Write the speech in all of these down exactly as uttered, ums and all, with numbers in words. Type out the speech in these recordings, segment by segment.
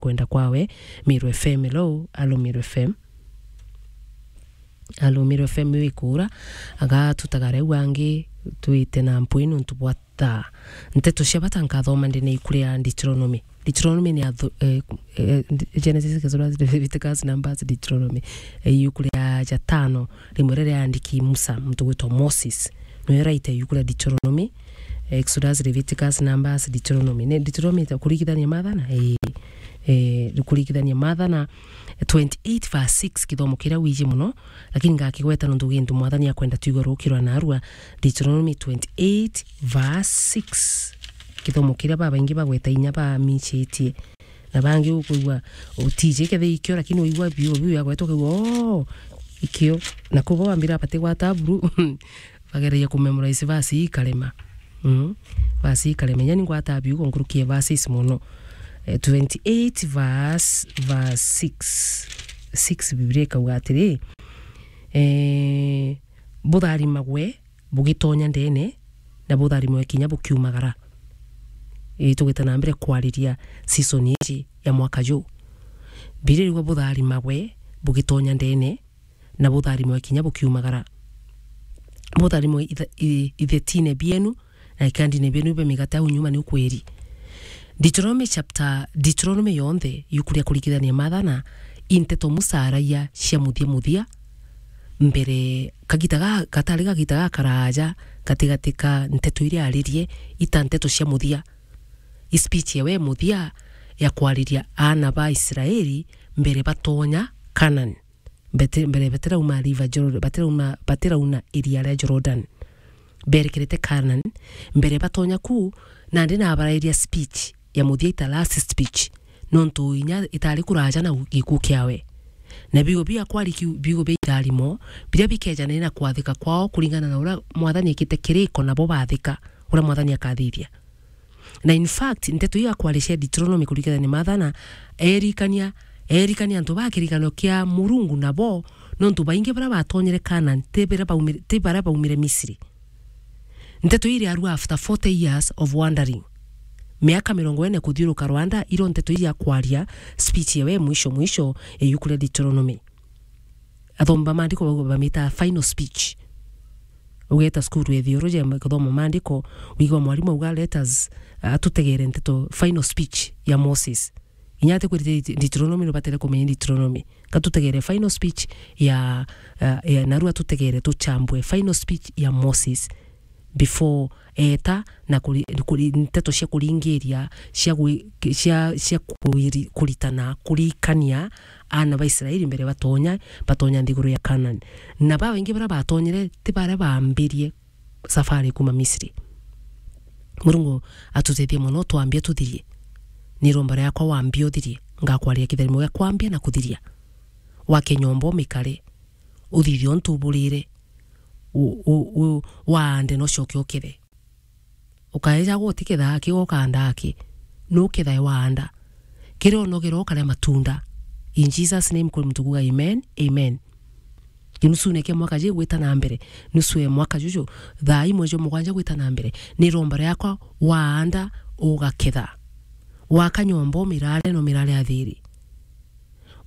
kwenda kwawe. Meru F M, hello, alo Meru F M. Alo Meru F M wikura, aga tutagare wangi twite na mpwi nontu bwa ta nteto cia bata nkathoma ndene iku ria Deuteronomy. Deuteronomy ni athu-, eh, eh, Genesis, Exodus, Leviticus, Numbers, Deuteronomy. Eh, iku ria jatano, rimwe riria riandiki Musa, muntu gwitwa Moses. Niwe raita iku ria Deuteronomy, Exodus, Leviticus, Numbers, Deuteronomy. Ni Deuteronomy ta kurigithania mathana? Eh, eh, kurigithania mathana twenty-eight verse six, kithomo kiria wiji mono, lakini ngakigweta nontu gintu Mwathani akwenda twigwe rukirwa narua. Deuteronomy twenty-eight verse six. Kithomo kiria babaingi bagweta inya bamichitie. Na bangi ukwigua utiji kethira ikio, lakini uigua biu, biu yagwetwa ukaigua, "Oh, ikio." Na kuba wambira bati gwata buru, bagereria ku memorize verse ikarema. Mm. Verse ikarema. Inya ni ngwata biu nkuruki e verses mono. Eh, twenty-eight verse, verse six. Six, Biblia ikauga atiri, eh, butharimagwe bugitonya ndene, na butharimwe kinya bukiumagara. Ii, tugite na mbere kwariria season iji ya mwaka ju. Biblia irigwa butharimagwe bugitonya ndene, na butharimwe kinya bukiumagara. Butharimwe itha-, i-, ithetine bienu, na ikandine bienu bia migate au nyuma ni ukweri. Deuteronomy chapter, Deuteronomy yonthe, iku ria kurikithania mathana, i nteto Musa araia cia muthia muthia, mbere, kagita ga, gatari gagita gakaraja gatigati ka nteto iria aririe, ita nteto cia muthia. I speech ewe muthia ya kwariria aana ba Israeli mbere batonya Canaan. Bete-, mbere batirauma river Jor-, batirauma, batirauna iria ria Jordan. Berekerete Canaan, mbere batonya ku, nandi nabarairia speech ya muthia ita last speech, nontu inya itari kuraja na gikuu kiawe. Na biugo bia kwari kiu, biugo bia itharimo, biria bikejana na kwathika kwao kuringana na uria Mwathani ekite kiriko nabo bathika, uria Mwathani akathithia. Na in fact, nteto iu akwaria cia Deuteronomy kurikithania mathana, erikania, erikania antu ba kirikano kia Murungu nabo, nontu baingi baria batonyere Canaan, ti baria baumire, ti baria baumire Misri. Nteto iria arua after forty years of wandering. Miaka mirongo ine kuthiuruka rwanda, iro nteto iria akwaria speech ewe mwisho mwisho ya iuku ria Deuteronomy. Athomi ba maandiko bau bamita final speech. Ugeta cukuru ya theology ya kuthoma maandiko, wigwa mwarimu auga, "Let us, uh, atutegere nteto, final speech ya Moses." Inya ati kwirite Deuteronomy, nubatere kumenya Deuteronomy. Katutegere final speech ya, uh, ya, narua tutegere tuchambue final speech ya Moses before eta na kuri-, kuri-, nteto cia kuringiria, cia gwi-, cia, cia kuiri-, kuritana, kurikania aana ba Israeli mbere batonya, batonya nthiguru ya Canaan. Na babaingi baria batonyere ti baria baambirie safari kuma Misri. Murungu atutethie mono, twambia tuthirie. Ni iromba riakwa, wambia uthirie. Ngakwaria kitharimo gia kwambia na kuthiria. Wake nyomba umikare, uthithie untu uburire, u-, u-, u-, waande na ucoke ukethe. Ukaeja gutikethaa ki, ukaandaa ki? Nukethae waanda. Kiria unogera ukaria matunda. In Jesus' name, kuri muntu kuuga amen, amen. Kinusune kia mwaka ji gwita na mbere, nusu ya mwaka juju, thaa imwe jwa mugwanja gwita na mbere, ni iromba riakwa, waanda ugaketha. Waka nyomba umirare na umirare athiri.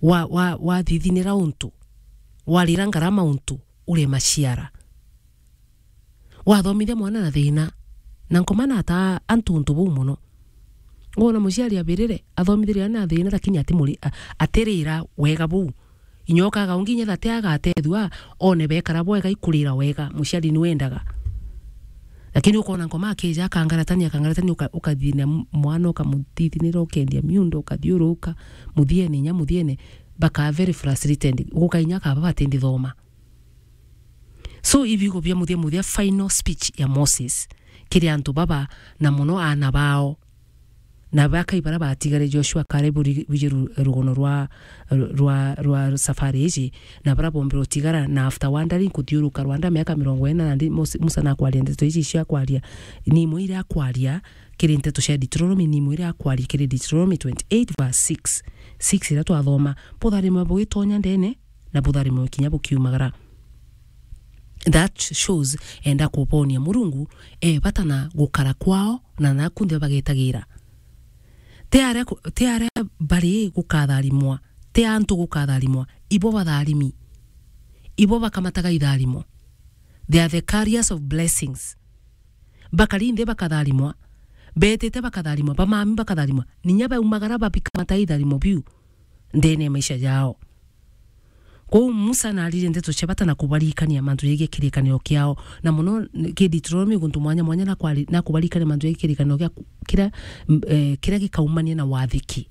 Wa, wa, wathithinira untu, warira ngarama untu, uri maciara. Wathomithia mwana na thina, na nkoma na ata antu untu buu mono. Ngona muciari abirire, athomithirie na thina, lakini atimuri-, a-, atirira wega buu. Inya ukaga ungi inya thate agatethua, one bekara bwega, ikurira wega, muciari ni wendaga. Lakini ukona nkoma akija akangaratania, akangaratania, uka-, ukathina m-, mwana, ukamuthithinira, ukendia miundo, ukathiuruka, muthiene, inya muthiene, baka very frustrated, guka inya akaba batindi thoma. So, ibiugo bia muthia muthia, final speech ya Moses kiri antu baba, na mono aana bao, na bakai baria batigare. Joshua, Caleb, uri-, wiji ru-, rugono rwa, rwa, rwa safari iji, na baria bombire utigara, na after wandering kuthiuruka rwanda miaka mirongo ina, nandi Mos-, Musa nakwaria ndeto iji cia kwaria, ni imwe iria akwaria kiri nteto cia Deuteronomy, ni imwe iria akwaria kiri Deuteronomy twenty-eight verse six. Six iria twathoma, butharime bugitonya ndene, na butharime kinya bukiumagara. That shows enda kubonia Murungu e bata na gukara kwao na naku nthia bagetagira. Ti aria ku-, ti aria bari gukatharimwa, ti antu gukatharimwa, ibo batharimi. Ibo bakamataga itharimo. They are the carriers of blessings. Bakari nthi bakatharimwa, betite bakatharimwa, bamami bakatharimwa, ninya baumagara babikamata itharimo biu ndene ya maisha jao. Kwou Musa naaririe ndeto cia bata na kubarikania mantu jegie kirikaniro kiao, na mono ki Deuteronomy guntu mwanya mwanya na kwari-, na kubarikania mantu jegie kirikaniro kia ku-, kiria, m-, eh, kiria gikaumania na wathiki.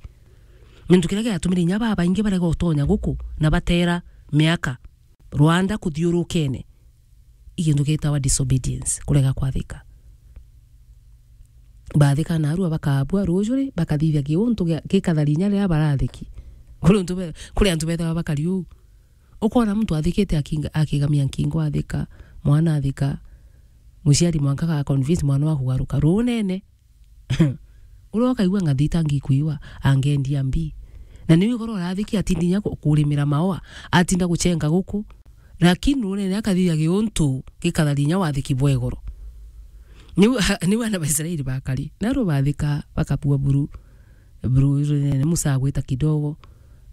Gintu kiria giatumire inya babaingi barega utonya guku na batera miaka rwanda kuthiurukene. I gintu gitawa disobedience, kurega kwathika. Bathika narua bakabua ruju ri, bakathithia kiuntu gia-, gikathari inya riria barathiki. Kuri untu be-, kuri antu bethawa bakari uu. Ukona muntu athikite akinga-, akigamia nkingo athika, mwana athika, muciari mwanka ga convince mwana wa kugaruka. Runene. Uria ukaigua ng'athi itangikuiwa, angendia mbi. Na niu igoro urathiki atindi inya ku-, kurimira maoa, atinda guchenga guku. Lakini runene akathithia giuntu gikathari inya wathiki bwa igoro. Niu, niu ana Baisraeli bakari. Naru bathika, bakabua buru. Buru runene Musa agwita kidogo,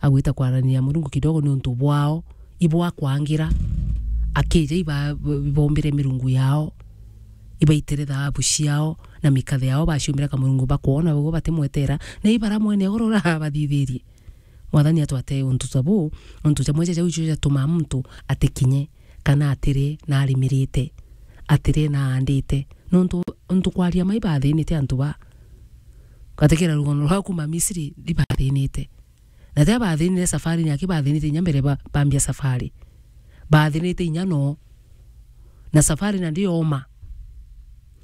agwita kwaraniria Murungu kidogo niuntu bwao, ibwa kwangira. Akija iba-, ibombire mirungu yao, ibaitire thaabu ciao na mikathe yao, baciumbira kamurungu bakwona, bagwo batimwetera, na ibara mwene igoro urabathithirie. Mwathani atwate untu ta buu, untu jamwe ja jau icio jatumaa muntu atikinye, kana atire na arimirite, atire na aandite. Nontu, untu kwaria ma ibathinite antu ba. Gatikira rugono rwa kuma Misri, ibathinite. Na tia bathinire safari ni aki bathinite inya mbere ba-, bambia safari. Bathinite inya no. Na safari na ndioma.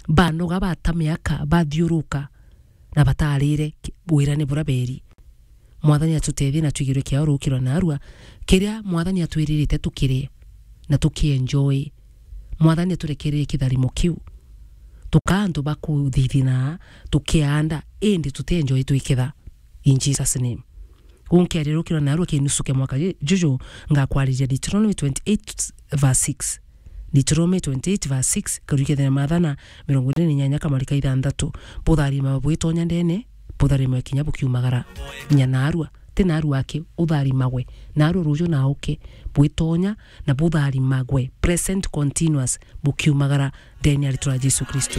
Banoga bata miaka, bathiuruka. Na batarire ki-, wirane bura beri. Mwathani atutethie na twigirwe kiao rukiro narua, kiria Mwathani atwiririte tukirie na tukienjoy. Mwathani aturekererie kitharimo kiu. Tukaa antu ba kuthithina, tukianda, indi tutienjoy twiketha. In Jesus' name. Gunkiaria rukiro narua kinusu kia mwaka ju-, juju, ngakwariria Deuteronomy twenty-eight verse six. Deuteronomy twenty-eight verse six, karukia thina mathana mirongo iri na inyanya kamarika ithanthatu. Butharima bwitonya ndene, butharima kinya bukiumagara. Nya narua, ti narua aki, utharimagwe. Narua ruju na uke, bwitonya na butharimagwe. Present continuous, bukiumagara ndene ya ritwa ria Jesu Kristo.